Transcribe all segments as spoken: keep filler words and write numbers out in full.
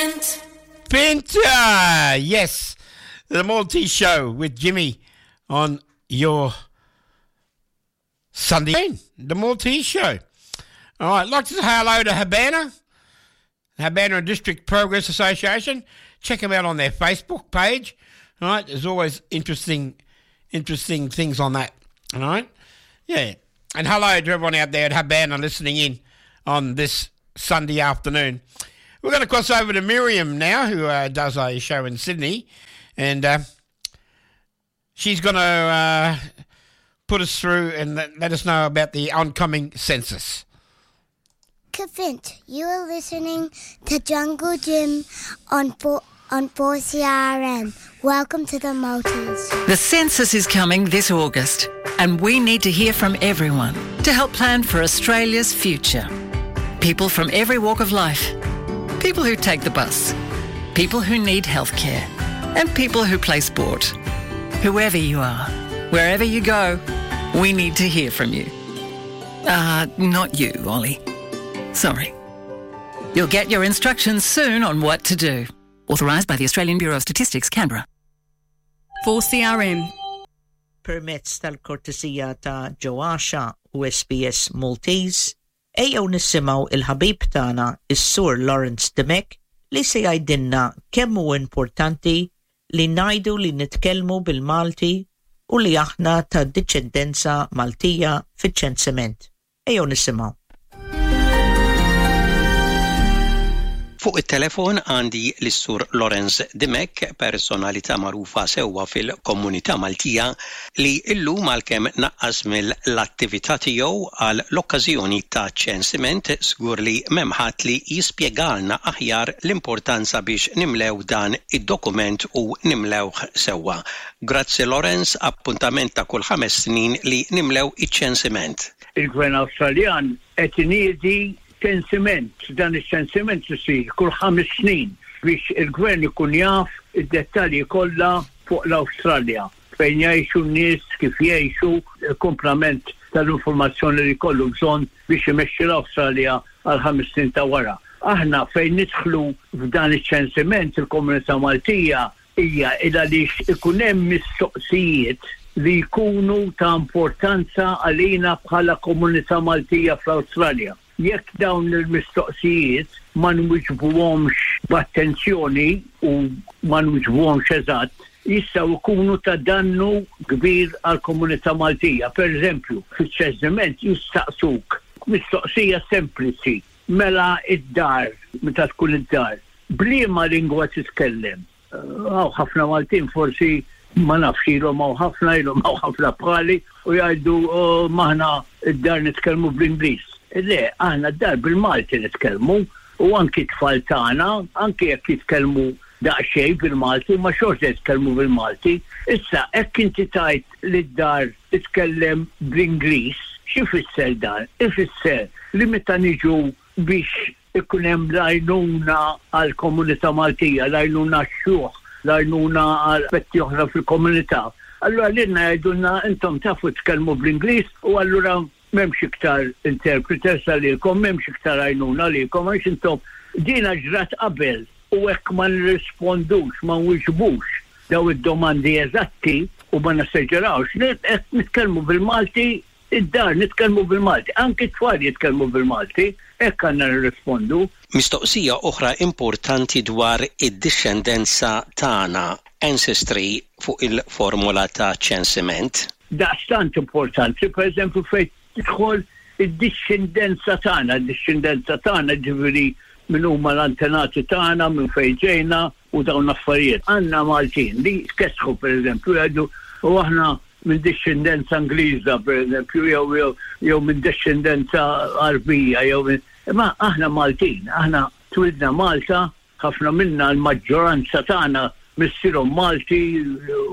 Pint. Pinta! Yes, the Maltese Show with Jimmy on your Sunday, the Maltese Show. All right, I'd like to say hello to Habana, Habana and District Progress Association. Check them out on their Facebook page. All right, there's always interesting, interesting things on that. All right, yeah. And hello to everyone out there at Habana listening in on this Sunday afternoon. We're going to cross over to Miriam now, who uh, does a show in Sydney, and uh, she's going to uh, put us through and let, let us know about the oncoming census. Kafint, you are listening to Jungle Jim on four, on four C R M. Welcome to the Maltese. The census is coming this August, and we need to hear from everyone to help plan for Australia's future. People from every walk of life. People who take the bus. People who need healthcare. And people who play sport. Whoever you are, wherever you go, we need to hear from you. Uh, not you, Ollie. Sorry. You'll get your instructions soon on what to do. Authorised by the Australian Bureau of Statistics, Canberra. four C R M. Permezz tal-kortesija ta' Joasha u S B S Maltese, ejjew nisimgħu il-ħabib tagħna is-Sur Lawrence Dimech li se jgħidilna kemm hu importanti li ngħidu li nitkellmu bil-Malti u li aħna ta' dixxendenza Maltija fiċ-ċensiment. Ejjew nisimgħu. Fuq it-telefon għandi l-Sur Lawrence Dimech, personalità magħrufa sewwa fil-komunità Maltija li illum, għalkemm naqqas mill-attività tiegħu għal l-okkażjoni ta' ċensiment, żgur li m'hemm ħadd li jispjegalna aħjar l-importanza biex nimlew dan id-dokument u nimlewh sewwa. Grazzi, Lawrence, appuntament ta' kull ħames snin li nimlew iċ-ċensiment. Il-Gvern Awstraljan qed iniedi ċensiment. Dan iċ-ċensiment isir kull ħames snin biex il-gvern ikun jaf id-dettalji kollha fuq l-Awstralja, fejn jgħixu n-nies, kif jgħixu, il-komplament tal-informazzjoni li kollu bżonn biex imexxi l-Awstralja għal ħames snin ta' wara. Aħna fejn nidħlu f'dan iċ-ċensiment, il-komunità Maltija, hija il għaliex ikun hemm mistoqsijiet li jkunu ta' importanza għalina bħala komunità Maltija fl-Awstralja. Jekk dawn il-mistoqsijiet ma nwiġbuhomx b'attenzjoni u ma nwiġbuhomx eżatt, jistgħu jkunu ta' dannu kbir għal komunità Maltija. Per eżempju, fiċ-ċensiment jistaqsuk mistoqsija sempliċi: mela id-dar, meta tkun id-dar, b'liema lingwa titkellem? Hawn ħafna Maltin, forsi ma nafx ilhom hawn ħafna, ilhom hawn ħafna bħali u jgħidu, "Oh, m'aħna id-dar nitkellmu bl-Ingliż." Le, aħna d-dar bil-Malti nitkellmu u anki tfal tagħna, anki jekk jitkellmu daqsxejn bil-Malti, ma xorta jitkellmu bil-Malti. Issa, hekk inti tgħid li d-dar titkellem bl-Ingliż, x'ifisser dan? Ifisser li meta niġu biex ikun hemm l-għajnuna għall-komunità Maltija, l-għajnuna x-xjuħ, l-għajnuna għal aspetti oħra fil-komunità. Allura lilna jgħidulna, "Intom tafu tkellmu bl-Ingliż u allura m'hemmx iktar interpreters għalikom, m'hemmx iktar għajnuna għalikom għax intom." Dina ġrat qabel u hekk ma nirrispondux, ma nwiġbux daw id-domandi eżatti u ma nesaġerawx, hekk nitkellmu bil-Malti, id-dar nitkellmu bil-Malti, anki t-tfal jitkellmu bil-Malti, hekk għandna nirrispondu. Mistoqsija oħra importanti dwar id-dixxendenza tagħna, ancestry, fuq il-formula ta' ċensiment. Daqstant importanti, per eżempju, fejn tidħol id-dixxendenza tagħna, id-dixxendenza tagħna ġifieri minn huma l-antenati tagħna, minn fejn ġejna u dawn affarijiet. Għandna Maltin li kesħu, per eżempju, jgħidu, "U aħna minn dixxendenza Ingliża", per eżempju, jew jew jew minn dixxendenza Arbija, jew minn. Imma aħna Maltin, aħna twilidna Malta, ħafna minna, l-maġġoranza tagħna missierhom Malti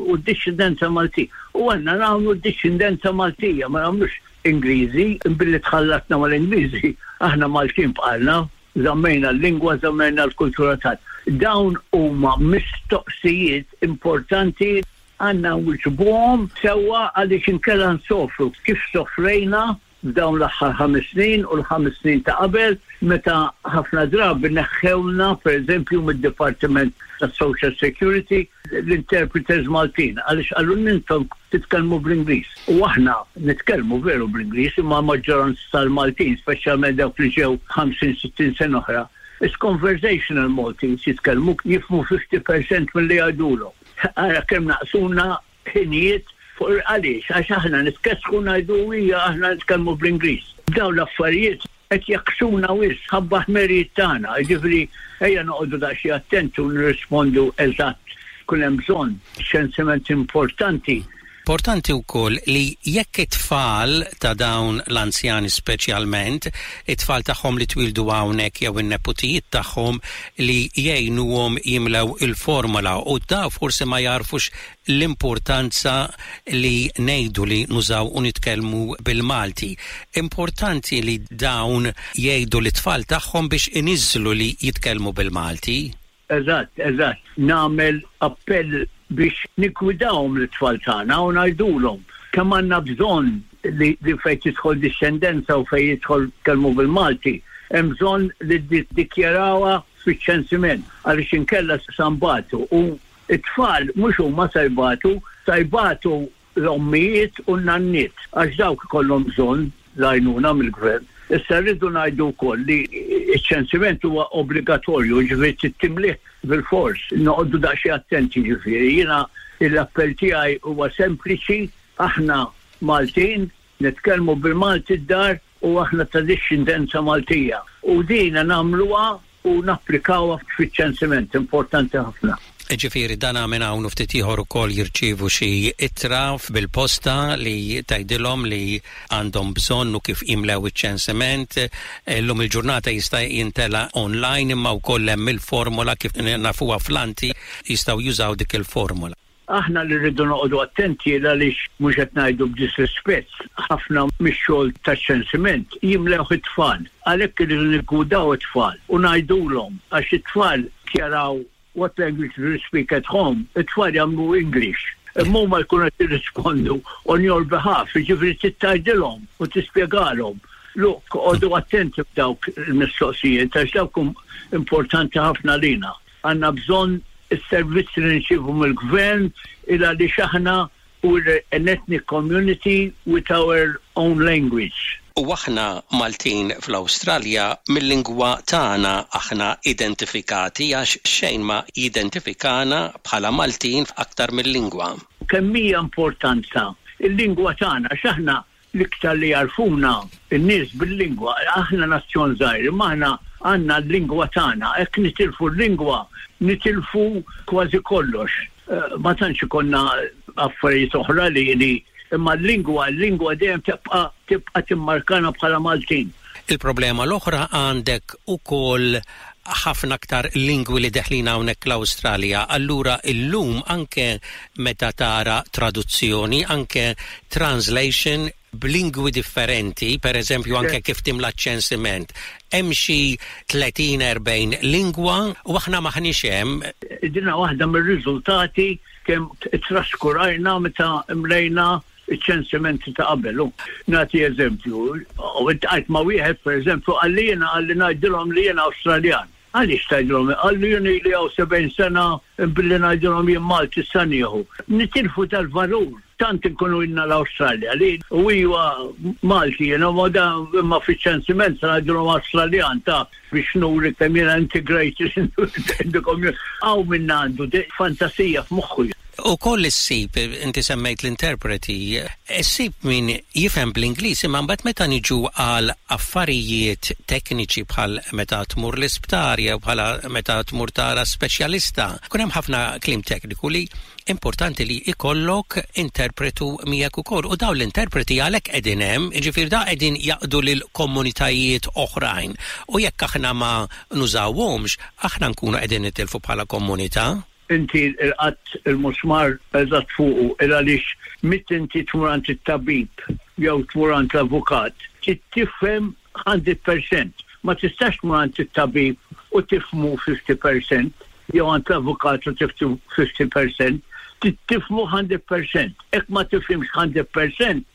u d-dixxendenza Malti. U għandna nagħmlu d-dixxendenza Maltija, ma nagħmlux Ingliżi, billi tħallatna mal-Ingliżi, aħna Maltin bqajna, żammejna l-lingwa, żammejna l-kultura tagħna. Dawn huma mistoqsijiet importanti, għandna nwiġbuhom sewwa għaliex inkella nsofru kif sofrejna. f'dawn l-aħħar ħames snin u l-ħames snin ta' qabel, meta ħafna drabi neħħewna, pereżempju, mid-Dipartiment tas Social Security l-interpreters Maltin, għaliex qalu intom titkellmu bl-Ingliż. U aħna nitkellmu veru bl-Ingliż, imma maġġoranza tal-Maltin, speċjalment dawk li ġew ħamsin sittin sena oħra, it's conversational Maltese jitkellmu, jifhmu fifty percent mill-li jgħidulhom. Ara kemm naqsuna ħinijiet fuq għaliex, għax aħna nitkessħu ngħidu hija aħna nitkellmu bl-Ingliż. Dawn l-affarijiet qed jaqsuna wisq ħabba ħmerijiet tagħna, jiġifieri ejja noqogħdu daqsxejn attenti u nirrispondu eżatt kull hemm bżonn. Ċensiment importanti. Importanti wkoll li jekk it-tfal ta' dawn l-anzjani speċjalment, it-tfal tagħhom li twildu hawnhekk jew in-neputijiet tagħhom li jgħinuhom jimlew il-formola, u da forsi ma jarfux l-importanza li ngħidu li nużaw u nitkellmu bil-Malti. Importanti li dawn jgħidu l-tfal tagħhom biex iniżlu li jitkellmu bil-Malti. Eżatt, eżatt. Nagħmel appell biex niggwidawhom l-tfal tagħna u ngħidulhom kemm għandna bżonn li, li fejn tidħol dixxendenza u fejn jidħol kelmu bil-Malti, hemm bżonn li dikjarawha fiċ-ċensiment, għaliex inkella sa nbatu, u it-tfal mhux huma sa jbatu, sa jbatu l-ommijiet u n-nanniet, għax dawk ikollhom bżonn l-għajnuna mill-gvern. Issa rridu ngħidu wkoll li ċ-ċensiment huwa obbligatorju, ġifieri timlih bil-fors, noqogħdu daqsxejn attenti ġifieri. Jiena l-appell tiegħi huwa sempliċi: aħna Maltin, nitkellmu bil-Malti d-dar u aħna ta' dixxendenza Maltija. U dina nagħmluha u napplikawha fiċ-ċensiment, importanti ħafna. Ġifieri dan minn hawn ftit ieħor ukoll jirċievu xi ittra bil-posta li tgħidilhom li għandhom bżonn u kif jimlew iċ-ċensiment. Illum il-ġurnata jista' jintela online, imma wkoll hemm il-formola kif nafuha fl-anti, jistgħu jużaw dik il-formola. Aħna li rridu noqogħdu attenti, għaliex mhux qed ngħidu b'disrispett, ħafna mix-xogħol taċ-ċensiment jimlew it-tfal. Għalhekk irridu niggwidaw it-tfal u ngħidulhom, għax it-tfal jaraw "What language do you speak at home?" It-tfal jagħmlu "English". Imma huma jkunu qed jirrispondu on your behalf, jiġifieri tgħidilhom u tispjegalhom. Look, oqogħdu attenti f'dawk il-mistoqsijiet, għax dawk importanti ħafna lina. Għandna bżonn is-servizzi li nirċievu mill-gvern il għaliex aħna we're an ethnic community with our own language. U aħna Maltin fl-Awstralja mill-lingwa tagħna aħna identifikati, għax xejn ma jidentifikana bħala Maltin aktar mill-lingwa. Kemm hija importanza il-lingwa tagħna, x'aħna l-iktar li jarfuna n-nies bil-lingwa. Aħna nazzjon żgħir, imma aħna għandna l-lingwa tagħna. Hekk nitilfu l-lingwa, nitilfu kważi kollox. Eh, ma tantx ikollna affarijiet oħra li li imma l-lingwa, l-lingwa dejjem tibqa' tibqa' timmarkana bħala Maltin. Il-problema l-oħra, għandek ukoll ħafna aktar lingwi li deħlin hawnhekk l-Awstralja. Allura illum anke meta tara traduzzjoni, anke translation b'lingwi differenti, per eżempju anke kif timla ċensiment, hemm xi tletin erbgħin lingwa u aħna maħniex hemm. Dina waħda mir-riżultati kemm traskurajna meta mlejna iċ-ċensimenti ta' qabel. Nagħti eżempju, u għajt ma' wieħed, per eżempju, qalli jiena, qalli ngħidilhom li jiena Awstraljan. Għaliex tgħidilhom? Qalli jien li hawn sebgħin sena, billi ngħidilhom jien Malti sa nieħu. Nitilfu tal-valur, tant inkunu ilna l-Awstralja li u iwa Malti jiena, ma da imma fiċ-ċensiment sa ngħidilhom Awstraljan ta' biex nuri kemm jiena integrated in the community. Hawn minna għandu fantasija f'moħħu. U koll issib, inti semmejt l-interpreti, issib min jifhem bl-Ingliż, imma mbagħad meta niġu għal affarijiet tekniċi bħal meta tmur l-isptar jew bħala meta tmur tara speċjalista, kun hemm ħafna kliem tekniku li importanti li ikollok interpretu miegħek ukoll. U dawn l-interpreti għalhekk qegħdin hemm, jiġifieri da qegħdin jaqdu lil komunitajiet oħrajn. U jekk aħna ma nużawhomx, aħna nkunu qegħdin nitilfu bħala komunità. Inti laqatt il-musmar eżatt fuqu, il għaliex meta inti tmur għand it-tabib jew tmur għand l-avukat, tifhem mija fil-mija. Ma tistax tmur għand it-tabib u tifhmu ħamsin fil-mija jew għand l-avukat u tifhmu ħamsin fil-mija, tifhmu mija fil-mija. Jekk ma tifhimx mija fil-mija,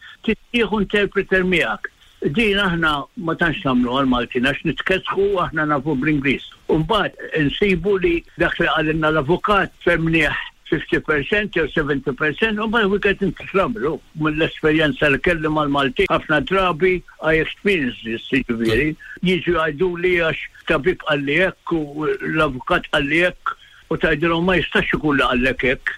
tieħu interpreter miegħek. Din aħna ma tantx nagħmlu għal-Maltin għax nitkesħu, aħna nafu bl-Ingliż. Umbagħad insibu li dak li qalilna l-avukat fhimnieh fifty percent jew seventy percent u mbagħad we get into trouble. Mill-esperjenza li kelli mal-Maltin, ħafna drabi I experience this, jiġifieri, jiġu jgħidu li għax tabib qalli hekk u l-avukat qalli hekk u tgħidilhom ma jistax ikun li qallek hekk.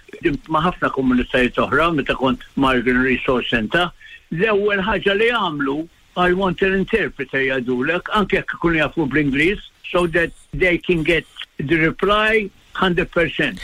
Ma' ħafna komunitajiet oħra meta kont Migrant Resource Center, l-ewwel ħaġa li għamlu, "I want an interpreter," jgħidulek, anke jekk ikunu jafu bl-Ingliż, so that they can get the reply one hundred percent.